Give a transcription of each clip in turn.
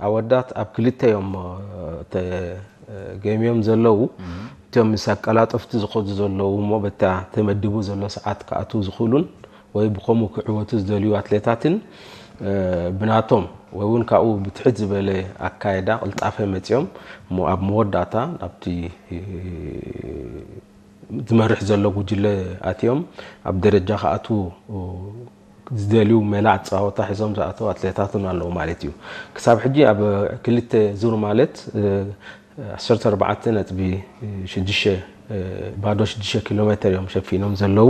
ኣወዳት ኣብ ክልተ እዮም ተገሚዮም ዘለዉ። እቶም ምስ ኣቀላጠፍቲ ዝኸዱ ዘለዉ እሞ በታ ተመዲቡ ዘሎ ሰዓት ክኣትዉ ዝኽእሉን ወይ ብኸምኡ ክዕወቱ ዝደልዩ ኣትሌታትን ብናቶም ወይ እውን ካብኡ ብትሕት ዝበለ ኣካየዳ ቅልጣፈ መፂኦም እሞ ኣብ መወዳእታ ናብቲ ዝመርሕ ዘሎ ጉጅለ ኣትዮም ኣብ ደረጃ ክኣትዉ ዝደልዩ ሜላ ኣፀዋወታ ሒዞም ዝኣተው ኣትሌታትን ኣለዉ ማለት እዩ። ክሳብ ሕጂ ኣብ ክልተ ዙር ማለት ዓሰርተ ኣርባዕተ ነጥቢ ሽዱሽተ ባዶ ሽዱሽተ ኪሎ ሜትር እዮም ሸፊኖም ዘለዉ።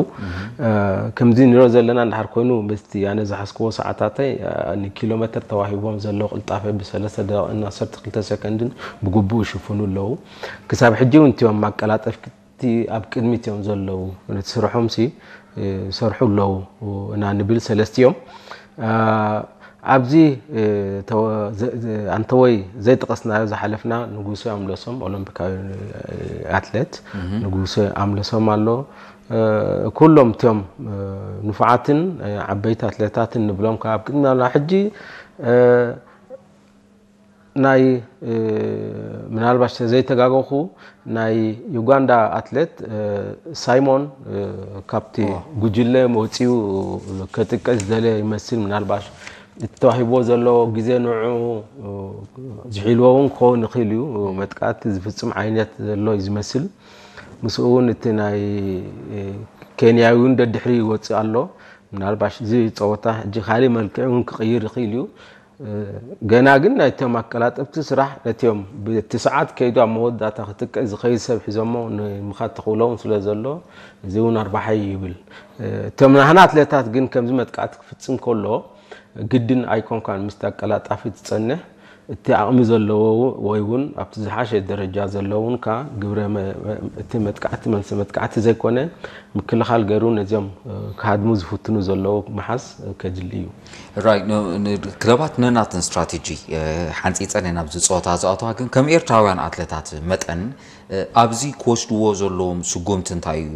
ከምዚ ንሪኦ ዘለና እንድሓር ኮይኑ ምስቲ ኣነ ዝሓዝክዎ ሰዓታተይ ንኪሎ ሜትር ተዋሂቦም ዘለዉ ቅልጣፈ ብሰለስተ ደቂቕን ዓሰርተ ክልተ ሰከንድን ብግቡእ ይሽፍኑ ኣለዉ። ክሳብ ሕጂ እውን እቲኦም ማቀላጠፍቲ እቲ ኣብ ቅድሚት እዮም ዘለዉ። ነቲ ስርሖምሲ ይሰርሑ ኣለዉ ኢና ንብል ሰለስቲኦም። ኣብዚ ኣንተወይ ዘይጠቐስናዮ ዝሓለፍና ንጉሰ ኣምለሶም ኦሎምፒካዊ ኣትሌት ንጉሰ ኣምለሶም ኣሎ። ኩሎም እቲኦም ንፉዓትን ዓበይቲ ኣትሌታትን ንብሎም ካብ ቅድሚ ሕጂ ናይ ምናልባሽ ተዘይተጋገኹ ናይ ዩጋንዳ ኣትሌት ሳይሞን ካብቲ ጉጅለ መውፅኡ ከጥቀ ዝደለ ይመስል። ምናልባሽ እቲ ተዋሂብዎ ዘሎ ግዜ ንዑ ዝሒልዎ እውን ክኸውን ይኽእል እዩ። መጥቃዕቲ ዝፍፅም ዓይነት ዘሎ እዩ ዝመስል። ምስኡ እውን እቲ ናይ ኬንያዊ እውን ደድሕሪ ይወፅእ ኣሎ። ምናልባሽ እዚ ፀወታ ሕጂ ካሊእ መልክዕ እውን ክቕይር ይኽእል እዩ። ገና ግን ናይቶም ኣቀላጠፍቲ ስራሕ ነቲኦም ብቲ ሰዓት ከይዱ ኣብ መወዳእታ ክትቀ ዝኸይድ ሰብ ሒዞሞ ንምኻድ ተኽእሎ እውን ስለ ዘሎ እዚ እውን ኣርባሓይ ይብል። እቶም ናህና ኣትሌታት ግን ከምዚ መጥቃዕቲ ክፍፅም ከሎ ግድን ኣይኮንካን ምስቲ ኣቀላጣፊ ትፀንሕ እቲ ዓቕሚ ዘለዎ ወይ እውን ኣብቲ ዝሓሸ ደረጃ ዘለውን ካ ግብረ እቲ መጥቃዕቲ መልሲ መጥቃዕቲ ዘይኮነ ምክልኻል ገይሩ ነዚኦም ክሃድሙ ዝፍትኑ ዘለዉ ምሓዝ ከድሊ እዩ። ክለባት ነናተን ስትራቴጂ ሓንፂፀን እየን ኣብዚ ፀወታ ዝኣተዋ፣ ግን ከም ኤርትራውያን ኣትለታት መጠን ኣብዚ ክወስድዎ ዘለዎም ስጉምቲ እንታይ እዩ?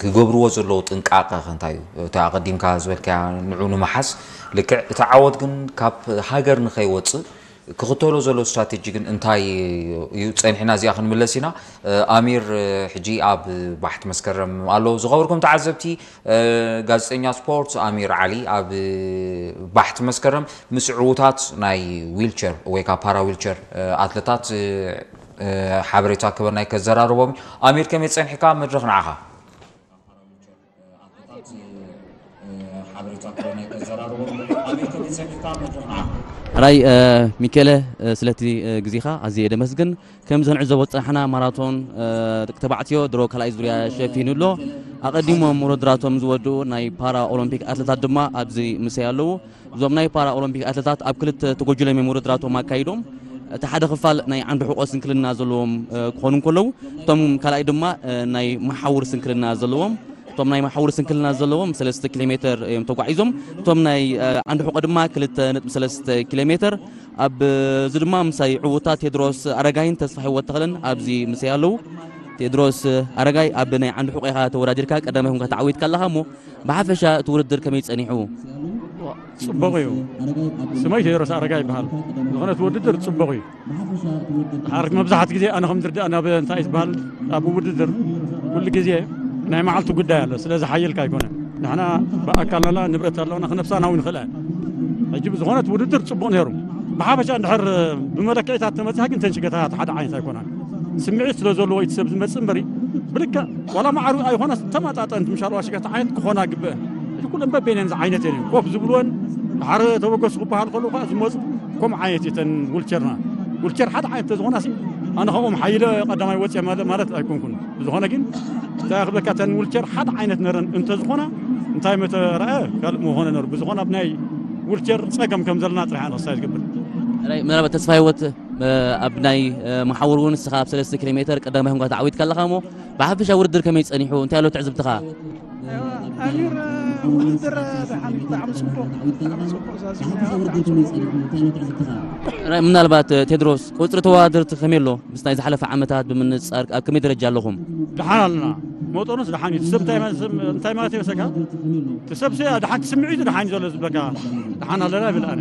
ክገብርዎ ዘለዉ ጥንቃቐ ከ እንታይ እዩ? እቲ ኣቐዲምካ ዝበልካያ ንዑ ንምሓዝ ልክዕ እቲ ዓወት ግን ካብ ሃገር ንኸይወፅእ ክኽተሎ ዘሎ ስትራቴጂ ግን እንታይ እዩ? ፀኒሕና እዚኣ ክንምለስ ኢና። ኣሚር ሕጂ ኣብ ባሕቲ መስከረም ኣሎ። ዝኸበርኩም ተዓዘብቲ፣ ጋዜጠኛ ስፖርት ኣሚር ዓሊ ኣብ ባሕቲ መስከረም ምስ ዕዉታት ናይ ዊልቸር ወይ ከዓ ፓራ ዊልቸር ኣትለታት ሓበሬታ ክበናይ ከዘራርቦም። ኣሚር ከመይ ፀኒሕካ? መድረኽ ንዓኻ። ሕራይ ሚኬለ ስለቲ ግዜኻ ኣዝየ ደመስግን። ከም ዘንዕዘቦ ዝፀናሕና ማራቶን ደቂ ተባዕትዮ ድሮ ካልኣይ ዙርያ ሸፊኑ ኣሎ። ኣቐዲሞም ውድድራቶም ዝወድኡ ናይ ፓራ ኦሎምፒክ ኣትለታት ድማ ኣብዚ ምሰይ ኣለዉ። እዞም ናይ ፓራ ኦሎምፒክ ኣትለታት ኣብ ክልተ ተጎጅሎም እዮም ውድድራቶም ኣካይዶም። እቲ ሓደ ክፋል ናይ ዓንዲ ሕቆ ስንክልና ዘለዎም ክኾኑ እንከለዉ እቶም ካልኣይ ድማ ናይ መሓውር ስንክልና ዘለዎም እቶም ናይ መሓውር ስንክልና ዘለዎም ሰለስተ ኪሎ ሜትር እዮም ተጓዒዞም። እቶም ናይ ዓንዲ ሕቆ ድማ ክልተ ነጥቢ ሰለስተ ኪሎ ሜትር ኣብ እዚ ድማ ምሳይ ዕውታት ቴድሮስ ኣረጋይን ተስፋ ህይወት ተኽለን ኣብዚ ምሳይ ኣለዉ። ቴድሮስ ኣረጋይ ኣብ ናይ ዓንዲ ሕቆ ኢኻ ተወዳዲርካ ቀዳማይ ኮንካ ተዓዊትካ ኣለኻ እሞ ብሓፈሻ እቲ ውድድር ከመይ ጸኒሑ? ጽቡቕ እዩ። ስመይ ቴድሮስ ኣረጋይ ይበሃል። ዝኾነ እቲ ውድድር ጽቡቕ እዩ። ድሓር መብዛሕት ግዜ ኣነ ከም ዝርዳእ ናብ እንታይ ዝበሃል ኣብ ውድድር ኩሉ ግዜ ናይ መዓልቲ ጉዳይ ኣሎ። ስለዚ ሓየልካ ኣይኮነ ንሕና ብኣካልና ንብረት ኣለና ክነብሳ ናው ንኽእል ሕጂ ብዝኾነት ውድድር ጽቡቕ ነይሩ። ብሓፈሻ እንድሕር ብመለክዒታት ተመፅያ ግን ተን ሽገታት ሓደ ዓይነት ኣይኮናን። ስምዒት ስለ ዘለዎ እቲ ሰብ ዝመፅእ እምበሪ ብልክዕ ዋላ ማዕሩ ኣይኮነስ ተመጣጠንቲ ምሻል ዋሽገት ዓይነት ክኾና ግበአን። እዚ ኩለን በበይነን ዝዓይነት እየን ኮፍ ዝብልወን ድሓር ተበገሱ ክበሃል ከሉ ከዓ ዝመፁ ከም ዓይነት እተን ውልቸርና ውልቸር ሓደ ዓይነት ተዝኾና ኣነ ከምኦም ሓይለ ቀዳማይ ወፅየ ማለት ኣይኮንኩን። ብዝኾነ ግን እንታይ ክብለካ እተን ውልቸር ሓደ ዓይነት ነረን እንተዝኾና እንታይ መተረአ ካልእ ምኾነ ነሩ ብዝኾነ ኣብ ናይ ውልቸር ፀገም ከም ዘለና ጥራሕ ንክሳይ ዝገብር። ምናልባት ተስፋ ህይወት ኣብ ናይ መሓውር እውን ንስኻ ኣብ ሰለስተ ኪሎ ሜትር ቀዳማይ ኮንካ ተዓዊትካ ኣለኻ እሞ ብሓፈሻ ውድድር ከመይ ጸኒሑ እንታይ ኣሎ ትዕዝብትኻ? ኣሚር ውድድር ደሓን ብጣዕሚ ጽቡቕ ብጣዕሚ ጽቡቕ ዛዚምና ብጣዕሚ ጽቡቕ ምናልባት ቴድሮስ ቁፅሪ ተወዳደርቲ ከመይ ኣሎ ምስ ናይ ዝሓለፈ ዓመታት ብምንፃር ኣብ ከመይ ደረጃ ኣለኹም? ደሓን ኣለና መጠኑስ ደሓን እዩ ሰብ እንታይ ማለት ይመሰካ እቲ ሰብ ደሓን ስምዒቱ ደሓን እዩ ዘሎ ዝበካ ደሓን ኣለና ይብል ኣነ